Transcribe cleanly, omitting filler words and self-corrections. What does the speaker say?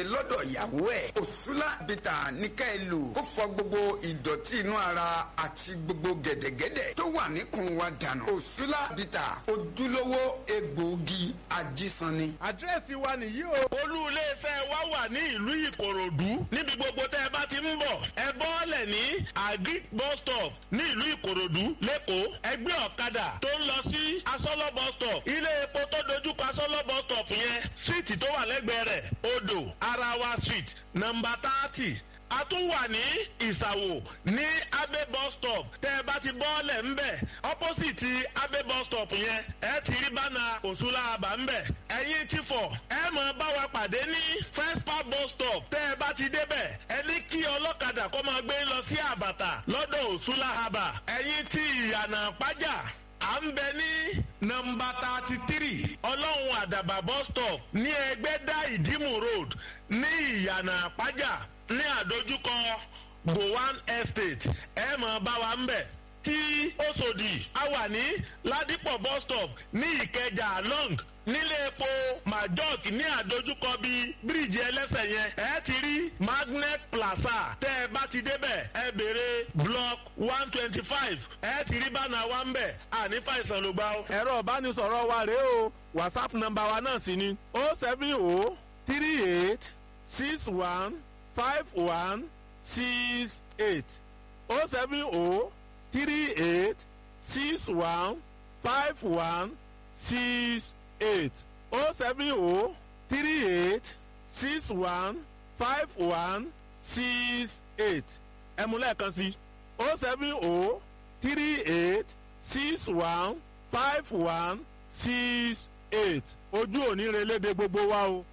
lọ́dọ̀ ìyàwó ẹ̀. Òṣùlá bìtà ní ká ẹ lò kó fọ gbogbo ìdọ̀tí inú ara àti gbogbo gẹ̀dẹ̀gẹ̀dẹ̀ tó wà níkùn wa dànù. Òṣùlá bìtà, ojúlówó egbòogi ajísanni. Àdírẹ́sì wa nìyí o. Olú iléeṣẹ́ wa wà ní ìlú Ìkòròdú. Níbi gbogbo tẹ́ ẹ bá ti ń bọ̀, ẹ bọ́ọ̀lẹ̀ ní Agric bus stop ní ìlú Ìkòròdú lẹ́kọ̀ọ́. Ẹgbẹ́ ọ̀kadà tó ń lọ sí Asọ́lọ́ bus stop, ilé epo tó dojúkọ Asọ́lọ́ bus stop yẹn, síìtì tó wà lẹ́gbẹ̀ẹ́ rẹ̀, Odò Arawa Street, nọ́mbà 30. A tún wà ní Ìsàwò ní Abe bus stop. Tẹ́ ẹ bá ti bọ́ọ̀lẹ̀ ńbẹ̀, opposite Abe bus stop yẹn, ẹ ti rí bánà Òṣùlá àbá ńbẹ̀. Ẹ̀yin ti fọ̀, ẹ mọ̀ bá wa pàdé ní First Park bus stop. Tẹ́ ẹ bá ti débẹ̀, ẹ ní kí ọlọ́kadà kó máa gbé lọ sí Àbàtà lọ́dọ̀ Òṣùlá àbà. Ẹ̀yin ti Ìyànà Pájà, à ń bẹ ní nọ́mbà 33 Ọlọ́run Àdàbà bus stop ní Ẹgbẹ́dá Ìdímù Road ní Ìyànà Pájà ní àdójúkọ Gowan Estate, ẹ mọ̀ bá wa ń bẹ̀. Tí Òṣòdì, a wà ní Ládìpọ̀ bus stop ní Ìkẹjà long, nílé epo Majok ní àdójúkọ bíi bíríìjì ẹlẹ́sẹ̀ yẹn, ẹ ti rí Magnet Plaza. Tẹ́ ẹ bá ti débẹ̀, ẹ béèrè block 125, ẹ ti rí bánà wa ń bẹ̀. Àní fàìsàn ló gbà ó. Ẹ̀rọ ìbánisọ̀rọ̀ wa rèé o. WhatsApp nọ́mbà wa náà sì ni 07038615168, 07038615168, 07038615168. Ẹ mú lẹ́ẹ̀kan sí: 07038615168. Ojú òní relédè gbogbo wa o.